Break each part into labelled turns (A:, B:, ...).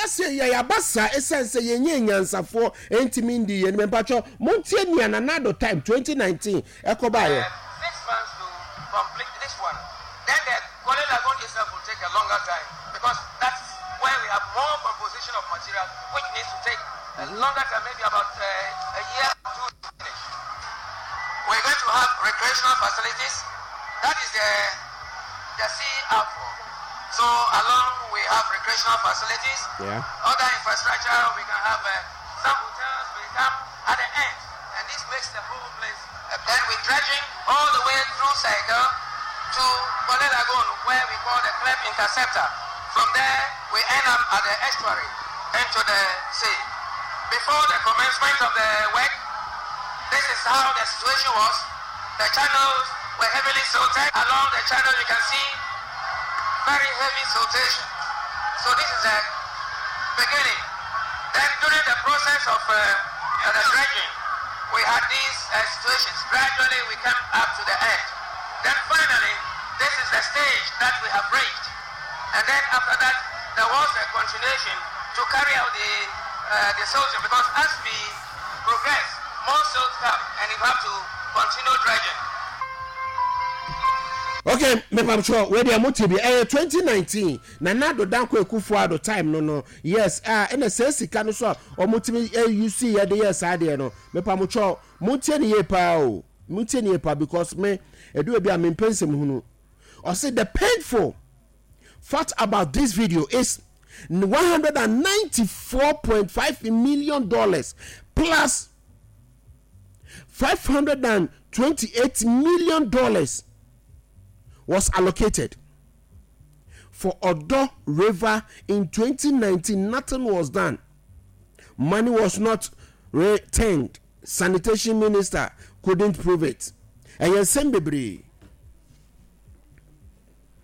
A: Yɛayɛ sɛ yɛaba saa ɛsiane sɛ yɛnyɛ nyansafoɔ ntumi ndi yɛn. Mepakyɛw, montie nea Nana Addo time 2019 ɛkɔbaeɛ.
B: 6 months to complete this one. Then the Korle Lagoon itself will take a longer time because that's where we have more composition of material, which needs to take a longer time, maybe about a year or two to finish. We're going to have recreational facilities. That is the sea outfall. So along we have recreational facilities. Other infrastructure, we can have some hotels will come at the end. And this makes the whole place. Then we dredging all the way through Saigal to Korle Lagoon, where we call the Clef Interceptor. From there, we end up at the estuary into the sea. Before the commencement of the work, this is how the situation was. The channels were heavily silted. Along the channel, you can see very heavy siltation. So this is the beginning. Then during the process of the dredging, we had these situations. Gradually, we came up to the end. Then finally, this is the stage that we have reached. And then after that, there was a continuation to carry out the silting because as we progress, more silt come and you have to continue dredging.
A: Okay, mepamtwɛ, wei deɛ mote bi, ɛyɛ 2019 Nana Addo Dankwa Akufo Addo time no. Yes, a ɛna sɛ sika no so a ɔmotumi ɛyu yɛde yɛ saa deɛ no. Mepamtwɛ, montie ne yie paa o, montie ne yie paa, because me ɛdu ebi a mempɛ nsɛm hunu. Ɔse the painful fact about this video is $194.5 million plus $528 million was allocated for Odaw River in 2019. Nothing was done. Money was not returned. Sanitation minister couldn't prove it. Ɛyɛ nsɛm bebree.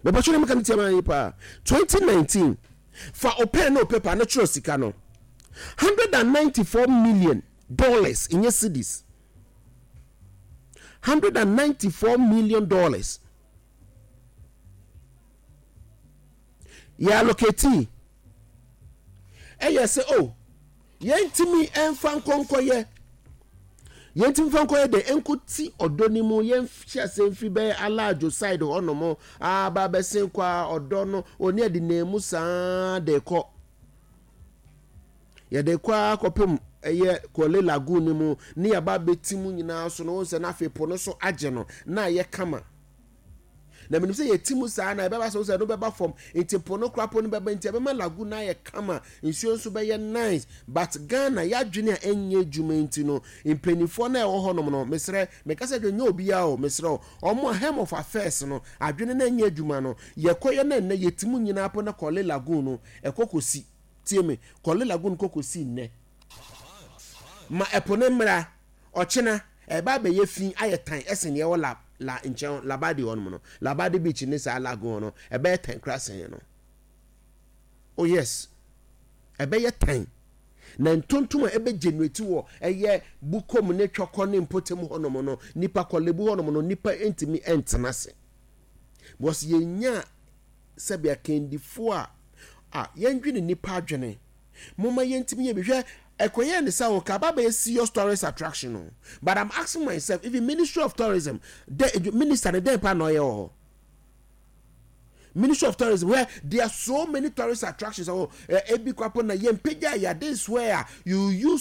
A: Bɛbɛtwe ne meka no tiama yi paa. 2019, fa o pen ne o paper ne twerɛ sika no, $194 million, nyɛ cedis, $194 million yɛ allocate. Ɛyɛ sɛ o yɛntumi ɛnfa nkɔnkɔyɛ, yɛntumi fa nkɔyɛ de nkɔti Ɔdɔ no mu. Yɛnhyɛ ase mfiri bɛyɛ Alaadwo side hɔnom aba bɛsen kɔ a Ɔdɔ no oni ɛde nan mu saa de kɔ, yɛde kɔ akɔpem ɛyɛ Korle Lagoon no mu ne yɛba abɛti mu nyinaa so no. Wɔn sɛ n'afei po no so agye no na ayɛ kama na menim sɛ yɛti mu saa na ɛbɛba sɛ no bɛba fam, nti po no kora po no bɛba, nti ɛbɛma lagoon no ayɛ kama, nsuo nso bɛyɛ nice. But Ghana yɛadwene a ɛnyɛ adwuma nti no, mpanimfoɔ no a ɛwɔ hɔnom no, mesrɛ, meka sɛ dwe nyɛ obiara o, mesrɛ o, ɔmo a helm of affairs no, adwene no ɛnyɛ adwuma no, yɛkɔyɛ no nnɛ yɛti mu nyinaa po na Korle Lagoon no ɛkɔ kɔsi. Tie me, Korle Lagoon kɔ kɔsi nnɛ ma ɛpo ne mmra ɔkyena ɛba abɛyɛ fi, ayɛ tan ɛsen deɛ ɛwɔ la nkyɛn Labadi hɔnom no, Labadi Beach ne saa lagoon no, ɛbɛyɛ tan kora sɛn no. Oh yes, ɛbɛyɛ tan na ntontom a ɛbɛ generate wɔ ɛyɛ Bukom ne Twɔkɔ ne mpɔtam hɔnom no, nipa Korle Bu hɔnom no, nipa ntumi ntena ase because yɛnya sɛbi akandifoɔ a yɛndwene nipa adwene. Moma yɛntumi yɛ bi hwɛ ɛkɔyɛ ne sɛ wɔka aba bɛyɛ serious tourist attraction o. But I'm asking myself, even Ministry of Tourism de, minister ne dɛn pa na ɔyɛ wɔ hɔ? Ministry of Tourism, where there are so many tourist attractions, oh, ebi kwapo na yɛn mpagya yɛ, this where you use